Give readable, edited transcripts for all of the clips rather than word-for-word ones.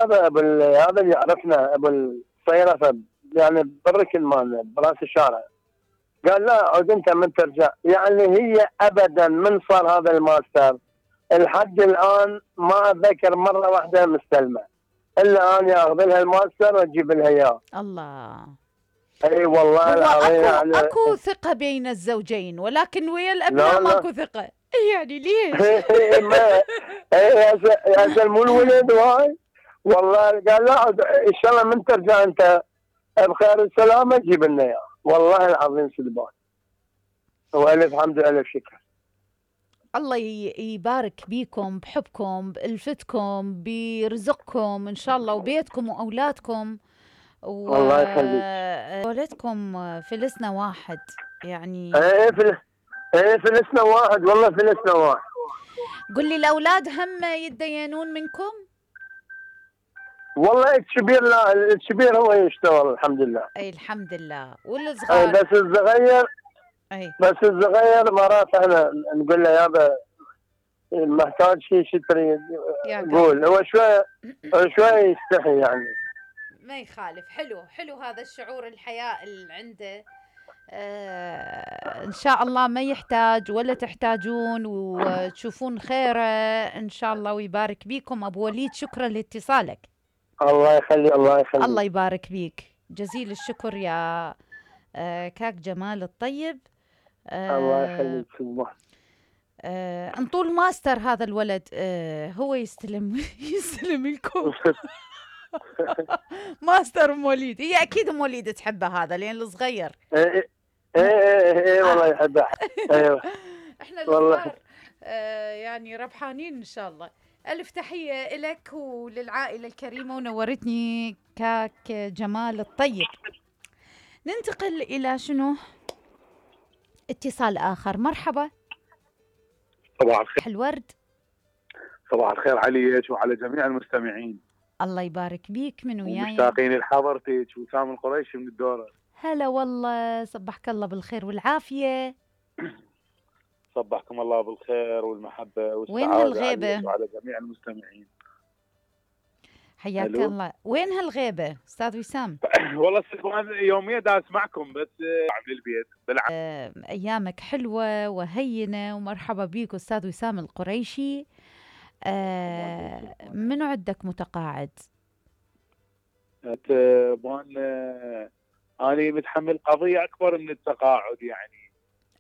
هذا اللي يعرفنا ابو الصيرفه، يعني بالركن مالنا براس الشارع. قال لا عود انت من ترجع، يعني هي ابدا من صار هذا الماستر لحد الان ما اتذكر مره واحده مستلمه، الا انا اخذ لها الماستر واجيب لها اياه. الله. اي والله هو العظيم يعني اكو ثقة بين الزوجين، ولكن ويا الابناء لا ماكو ثقة. يعني ليش؟ ما يا مو الولد وهاي. والله قال لا ان شاء الله من ترجع انت بخير السلامه جيب لنا اياه، والله العظيم سلبان. والف حمد والف شكر. الله يبارك بيكم، بحبكم، بألفتكم، برزقكم ان شاء الله، وبيتكم واولادكم، الله يخليك. وولدكم فلسنا واحد يعني. فلسنا واحد، والله فلسنا واحد. قل لي الاولاد هم يتدينون منكم؟ والله الكبير لا، الكبير هو يشتغل الحمد لله. اي الحمد لله. والصغار بس الصغير اي مرات احنا نقول له يابا محتاج شو تريد قول. هو شوي يستحي يعني. ما يخالف. حلو هذا الشعور الحياء اللي عنده. ان شاء الله ما يحتاج ولا تحتاجون، وتشوفون خيره ان شاء الله، ويبارك بيكم. ابو وليد شكرا لاتصالك. الله يخلي الله يخلي. الله يبارك بيك، جزيل الشكر يا كاك جمال الطيب. الله يخليك سبحان. انطول ماستر هذا الولد، هو يستلم لكم. ماستر ام وليد، هي اكيد ام وليد تحبه هذا لان الصغير. ايه والله يحبه. ايوه احنا الصغار يعني ربحانين ان شاء الله. الف تحيه لك وللعائله الكريمه، ونورتني كاك جمال الطيب. ننتقل الى شنو؟ اتصال اخر. مرحبا. صباح الخير. الورد. صباح الخير عليك وعلى جميع المستمعين. الله يبارك بيك. من وياي؟ مشتاقين لحضرتك. وسام القريشي من الدورة. هلا والله، صبحك الله بالخير والعافية. صبحكم الله بالخير والمحبة والسعادة. وين هالغيبة؟ وعلى جميع المستمعين. حياك الله. وين هالغيبة أستاذ وسام؟ والله يوميا دا أسمعكم بس عامل البيت بلعب. أيامك حلوة وهينة، ومرحبا بيك أستاذ وسام القريشي. منو عندك متقاعد؟ أنا متحمل قضية أكبر من التقاعد يعني.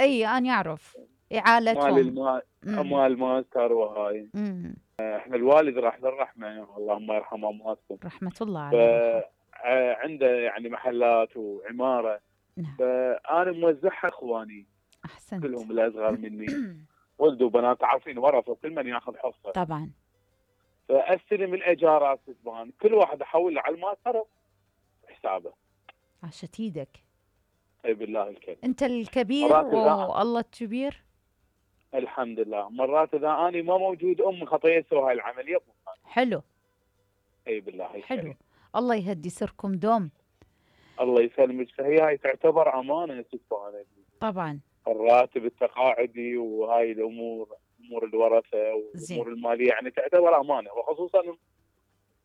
أي أنا أعرف إعالتهم مال الماستر وهاي. احنا الوالد راح للرحمة، اللهم يرحم أمواتكم. رحمة الله عليه. عنده يعني محلات وعمارة. نعم. فأنا موزعها إخواني. أحسنت. كلهم الأصغر مني. ولد وبنات عارفين ورثة، كل من ياخذ حصة. طبعا. فأستلم الإيجارات سبحان، كل واحد أحوله على الماستر حسابه. عاشت ايدك. اي بالله الكريم. انت الكبير والله الكبير. الحمد لله. مرات اذا اني ما موجود امي خطيه تسوي هاي العمليه. حلو. اي بالله الكريم. حلو. الله يهدي سركم دوم. الله يسلمك. فهي هاي تعتبر امانه سبحان. طبعا. الراتب التقاعدي وهاي الامور، امور الورثه والامور الماليه يعني تعتبر امانه، وخصوصا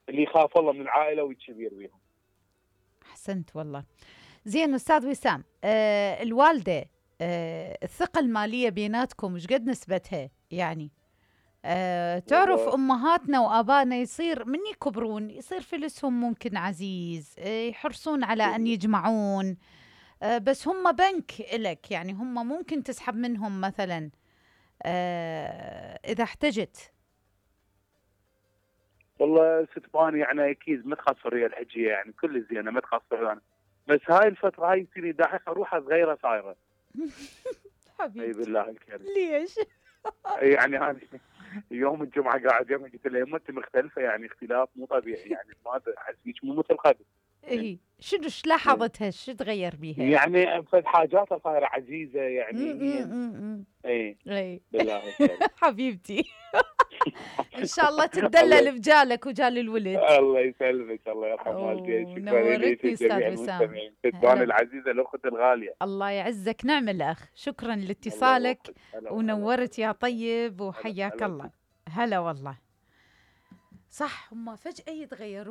اللي يخاف الله من العائله والكبير بيهم. احسنت والله. زين استاذ وسام، الوالده الثقه الماليه بيناتكم ايش قد نسبتها يعني؟ تعرف امهاتنا وابائنا يصير من يكبرون يصير فلسهم ممكن عزيز، يحرصون على ان يجمعون، بس هم بنك إلك يعني، هم ممكن تسحب منهم مثلا اذا احتجت. والله ستباني يعني اكيد ما تخسر هي الحجيه يعني كل زينه ما تخسر يعني. بس هاي الفتره هاي يصير داحقه روحها صغيره صايره. حبيبي. اي بالله الكريم. ليش؟ يعني هذه يوم الجمعه قاعد يوم قلت له يمه انت مختلفه يعني اختلاف مو طبيعي يعني ما احسك مو مثل قبل. اي شنو ايش لاحظتها؟ شو تغير بيها؟ يعني فد حاجاتها صايره عزيزه يعني. اي بالله حبيبتي. ان شاء الله تدلل بجالك وجال الولد. الله يسلمك. الله يرحم والديك. نورتني استاذ وسام. تدبان العزيزه الاخت الغاليه. الله يعزك. نعم الاخ. شكرا لاتصالك ونورت يا طيب وحياك الله. هلا والله. صح هم فجأة يتغيرون.